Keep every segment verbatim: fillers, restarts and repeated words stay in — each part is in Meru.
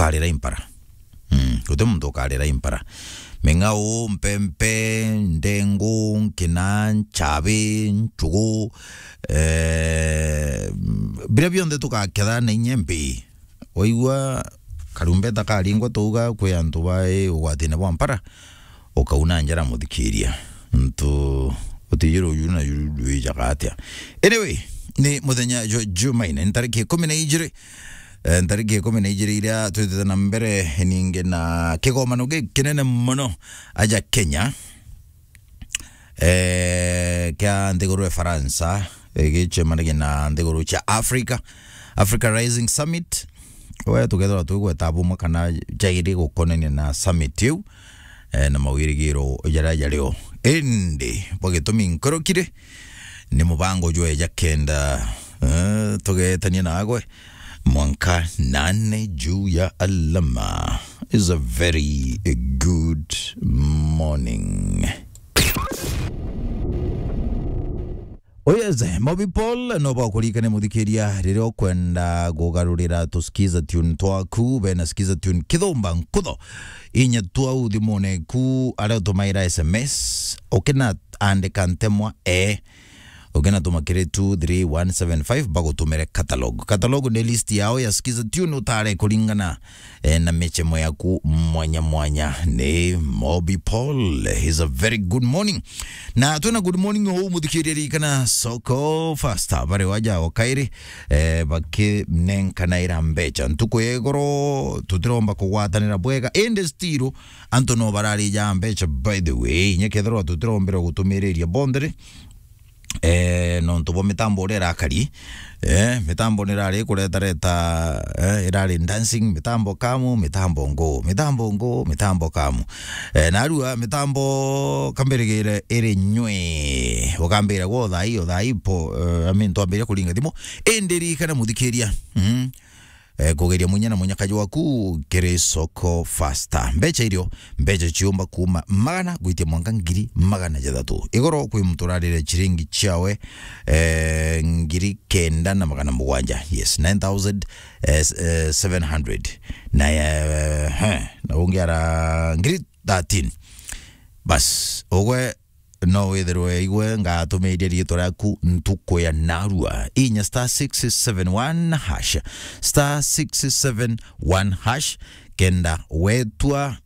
ukarira impara. Mm, guti muntu ukarira impara. Ming'au, mpempe, ndengu, nkina, nchabi, nchugu, eh, biria bionthe tugaketha na inya mbi. Waigua karumbeta karingwa twauga kwi antu bai ugwatine bwa mpara, ukauna njara muthikiria. Ntu utiji ruju na ju-, rwijaga atia? Anyway, ni muthenya jwa Jumaine, ni tariki ikumi na ijiri, eh, ntariki ikumi na ijiri iria twitite na mbere ningi na kigomano gikinene mono aja Kenya, eh, kia nthiguru ya Faransa, eh, gicemanagia na nthiguru cia Africa, Africa Rising Summit. We tukethirwa twigweta bumwe kana jairi gukonania na summit iu, eh, na mawirigiro jaria jario. Indi bwa gitumi nkorokire, ni mubango jweja kenda, eh, tugetania nagwe mwanka nane juu ya alama. Is a very good morning. Oh yes, Mobi Paul, no bakuririkane muthikiria, riria ukwenda kugarurira tuskiza tune twaku, bena skiza tune kithumba nkutho, inya twau thimune ku, aria utumaira S M S, ukina andika ntemwa e, ukina tuma kiri two three one seven five, bagutumire catalog. Catalog ni list yao ya skiza tune utare kuringana, eh, na michemo yaku mwanya mwanya. Ni Mobi Paul. Is a very good morning. Na twina good morning uu muthikiria, ririkana Soko Fasta, bari waja o kairi, eh, bakinenkanaira mbecha. Ntuku ya igoro tutiromba kugwatanira bwega, indi still antu no bararija mbecha, by the way, inya kethirwa tutirombire gutumiriria bonthe ri, eh, nontu bwa mitambo uria irakari, eh, mitambo nirari kuretareta, eh, irari dancing, mitambo kamu, mitambo ngo, mitambo ngo, mitambo kamu. Eh, narua mitambo kambirigire iri nywe, ukambira gwo thai, o thai po, eh, I mean, twambiria kuringa thimu, indi ririkana muthikiria, mm, eh, kugeria munya na munyakaji waku kiri Soko Fasta. Mbecha irio, mbecha ciumba kuma magana gwitia mwanka ngiri magana jathatu. Igoro kwi muntu urarire chiringi chiawe, eh, ngiri kenda na magana mugwanja. Yes, nine thousand, eh, s-, eh, seven hundred. Na, eh, he, na ungi ara ngiri thirteen. Bas, ugwe no withirwe igwe ngatumiria riitwa riaku ntuku ya narua. Inya star six seven one hash. Star six seven one hash. Kenda wetwa,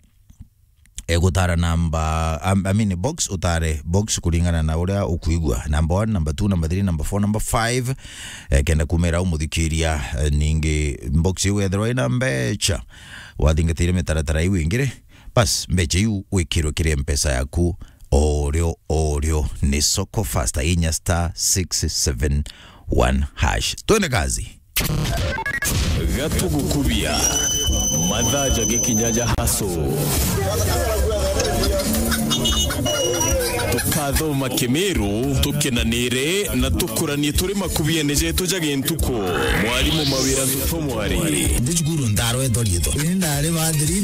e, gutara namba, am-, I mean, box, utare box kuringana na uria ukuigua. Number one, number two, number three, number four, number five. E, kenda kumira umuthikiria, e, ningi box iu wethirwa ina mbecha, wathingatire mitaratara iu ingire, bas, mbecha iu wikirwe kiri mpesa yaku, orio, orio, ni Soko Fasta, inya star six seven one hash. Twende kazi. Gatugukubia. Mathaa jagikinya ja haso. Tukathoma Kimiru, tukenanire na tukuranie turi makubiene jetu ja gintuku. Mwarimu Mawira Ntuto Mwari. Ndi cukuru ndarwetwa riitwa. Ni ndari bathiri